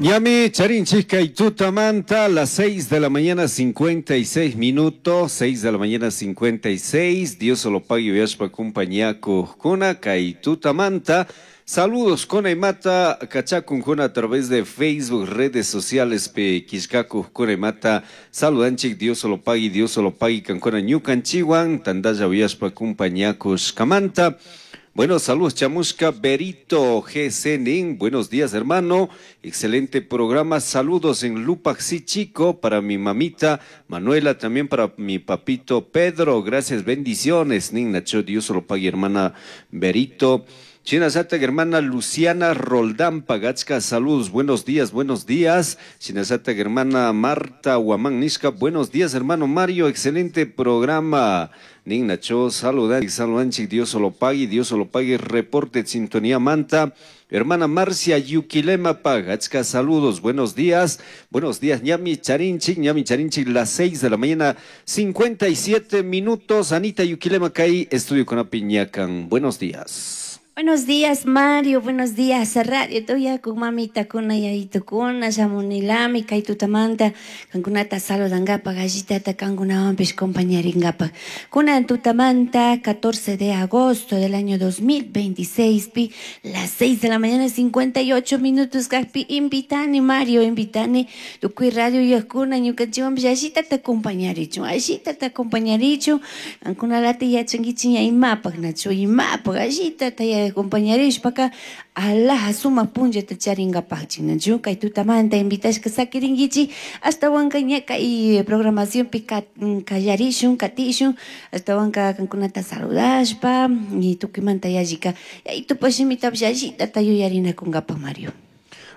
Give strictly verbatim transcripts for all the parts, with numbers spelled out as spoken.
Ñami charinchik kay tutamanta, las seis de la mañana cincuenta y seis minutos, seis de la mañana cincuenta y seis. Dios lo pague uyashpa compañía kuna kay tutamanta. Saludos con imata kachakunkuna a través de Facebook, redes sociales pe killkakujkuna imata saludanchik. Dios lo pague, Dios lo pague kankuna ñukanchiwan tandalla uyashpa compañakushkamanta. Bueno, saludos, chamushka Berito G C Nin. Buenos días, hermano. Excelente programa. Saludos en Lupaxi Chico para mi mamita Manuela, también para mi papito Pedro. Gracias, bendiciones. Nin Nacho, Dios lo pague, hermana Berito. Shinallata hermana Luciana Roldán Pagachka, saludos, buenos días, buenos días. Shinallata hermana Marta Guamán Nishka, buenos días, hermano Mario, excelente programa. Nin Nacho, saludan, saludanchik, Dios lo pague, Dios lo pague, reporte sintonía manta. Hermana Marcia Yuquilema Pagachka, saludos, buenos días, buenos días, ñami charinchik, ñami charinchik, las seis de la mañana, cincuenta y siete minutos. Anita Yuquilema kay estudio con Piñacan, buenos días. Buenos días, Mario. Buenos días, Radio Toyacu, mamita kuna, yayito kuna, shamunilami, kay tutamanta, kankunata saludangapaj, allitata kankunawanpish compañaringapaj. Kunan tutamanta, catorce de agosto del año dos mil veintiséis, pi, las seis de la mañana, cincuenta y ocho minutos, kajpi, invitani, Mario, invitani, tukuy radio yakuna, ñukanchikwanpish allitata acompañarichun, allitata acompañarichun, kankunalata yachankichik ña imapaj, nachu imapaj, allitata acompañarishpaka alaja sumak punllata charingapakchik, nachu kay tutamanta invitashka sakirinkichik. Ashtawanka ña kay programacionpi kallarishun, katishun, ashtawanka kankunata saludashpa y tukuymanta yallika yayitupa shimitapish allitata yuyarinakunkapak, Mario.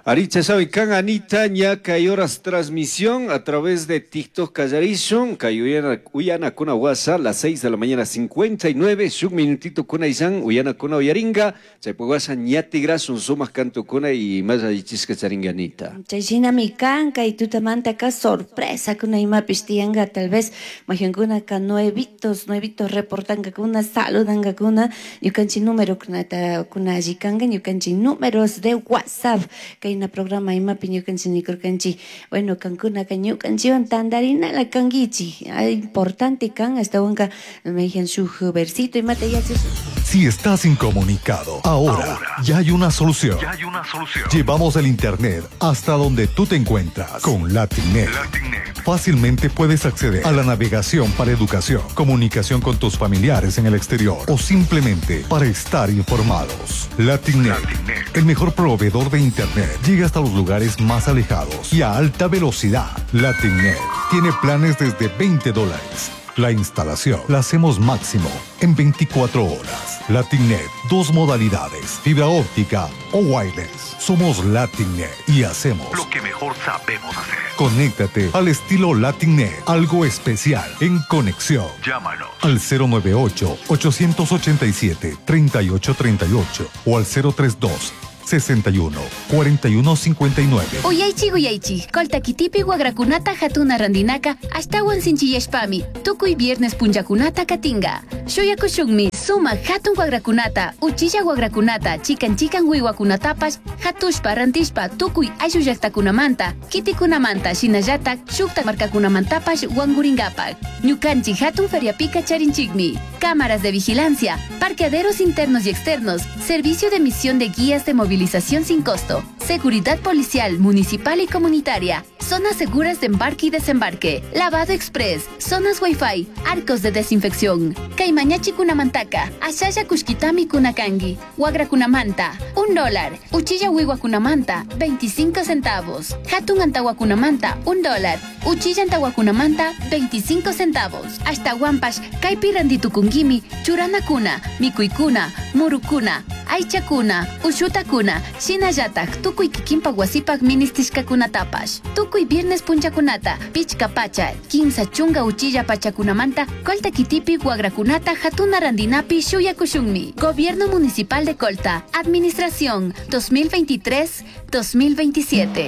Aricha sabe kan Anita ña kay horas transmisión a través de TikTok kallarishun kay uyana uyana kuna WhatsApp las seis de la mañana cincuenta y nueve shuk minutito kuna isan uyana kuna uyaringa chay WhatsApp ñatigrasun sumak canto kuna y más allichishka charinga, Anita. Chay shinami kan kay tutamantaka sorpresa kuna imapish tiyanka, tal vez mayqankunaka nuevitos nuevitos reportankakuna, saludankakuna, ñukanchik número kunata kuna alli kanka, ñukanchik números de WhatsApp kay programa imapi ñukanchik nikurkanchik, bueno, kankunaka ñukanchikwan tantarinala kankichik, importante kan, ashtawanka mayjan shuk versito imata yachash. Si estás incomunicado, ahora, ya hay una solución. Ya hay una solución. Llevamos el Internet hasta donde tú te encuentras con LatinNet. LatinNet. Fácilmente puedes acceder a la navegación para educación, comunicación con tus familiares en el exterior o simplemente para estar informados. LatinNet, LatinNet. El mejor proveedor de Internet, llega hasta los lugares más alejados y a alta velocidad. LatinNet tiene planes desde veinte dólares. La instalación la hacemos máximo en veinticuatro horas. LatinNet, dos modalidades, fibra óptica o wireless. Somos LatinNet y hacemos lo que mejor sabemos hacer. Conéctate al estilo LatinNet, algo especial en conexión. Llámanos al cero nueve ocho, ochocientos ochenta y siete, treinta y ocho treinta y ocho o al cero tres dos sesenta y uno cuarenta y uno cincuenta y nueve. Uyaichik, uyaichik, Colta kitipi wagrakunata hatuna randinaka ashtawan sinchiyashpami tukuy viernes punllakunata katinga. Shuyakushunmi sumak hatun wagrakunata, uchilla wagrakunata, chikan chikan wiwakunatapash hatushpa rantishpa tukuy ayllu llaktakunamanta, kitikunamanta, shinallatak shuktak markakunamantapash wankurinkapak. Ñukanchik hatun feriapika charinchikmi cámaras de vigilancia, parqueaderos internos y externos, servicio de emisión de guías de movilización sin costo, seguridad policial, municipal y comunitaria, zonas seguras de embarque y desembarque, lavado express, zonas wifi, arcos de desinfección. Kay mañachikunamantaka, ashalla kushkitami kuna kanki, wagrakunamanta, un dólar, uchilla wiwakunamanta, veinticinco centavos, hatun antawakunamanta, un dólar, uchilla antawakunamanta, veinticinco centavos. Ashtawanpash, kaypi rantitukunkimi, churanakuna, mikuykuna, murukuna, aychakuna, ushutakuna, shinallatak tukuy kikinpak wasipak ministishkakunatapash. Tukuy viernes punchakunata, pichka pacha, kimsa chunka uchilla pachakunamanta, Colta kitipi wagrakunata hatuna randinapi shuyakushunmi. Gobierno Municipal de Colta, Administración dos mil veintitrés dos mil veintisiete.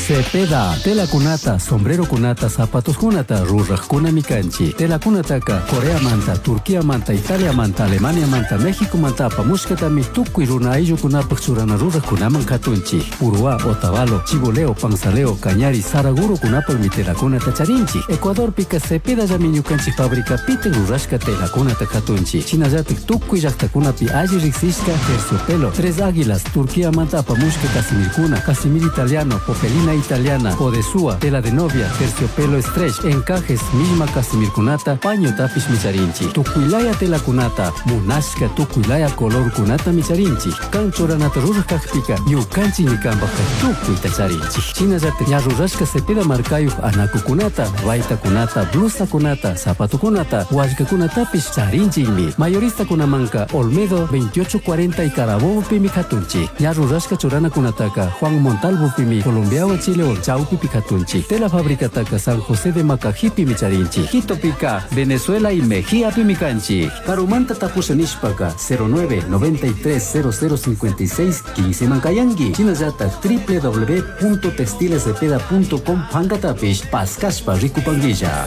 Cepeda, telakunata, sombrerokunata, zapatoskunata rurajkunami kanchik. Telakunataka Coreamanta, Turquiamanta, Italiamanta, Alemaniamanta, Mexicomanta apamushkatami tukuy runa ayllukunapaq churana rurajkunaman katunchik. Uruá, Otavalo, Chiboleo, Panzaleo, Cañari, Saragurokunapaqmi telakunata charinchik. Ecuadorpika Cepedallami ñukanchik fabricapita rurashka telakunata katunchik. Shinallatik tukuy llaqtakunapi alli riqsishka terciopelo, Tres Águilas, Turquiamanta apamushka casimirkuna, casimir italiano, popelina italiana, odesúa, tela de novia, terciopelo stretch, encajes, misma casimirkunata, paño tapish micharinchik. Tukuylaya telakunata, munashka tukuylaya colorkunata micharinchik. Kan churanata ruraj kakpika, ñukanchikmi kanpajka tukuyta charinchik. Shinallatik ña rurashka Cepeda markayuq anakukunata, baytakunata, blusakunata, zapatokunata, wallkakunatapish charinchikmi. Mayoristakunamanka Olmedo veintiocho cuarenta y Carabobo pimi katunchik. Ña rurashka churanakunataka Juan Montalvo pimi Colombiawan Chilewan chawpipi katunchik. Tela fabricataka San José de Macajipi charinchik. Quitopika Venezuela y Mejía pimi kanchik. Karumanta tapusha nishpaka cero nueve noventa y tres cero cero cincuenta y seis quince mankayanki. Shinallatak w w w punto textilescepeda punto com pankatapish paskashpa rikupanguilla.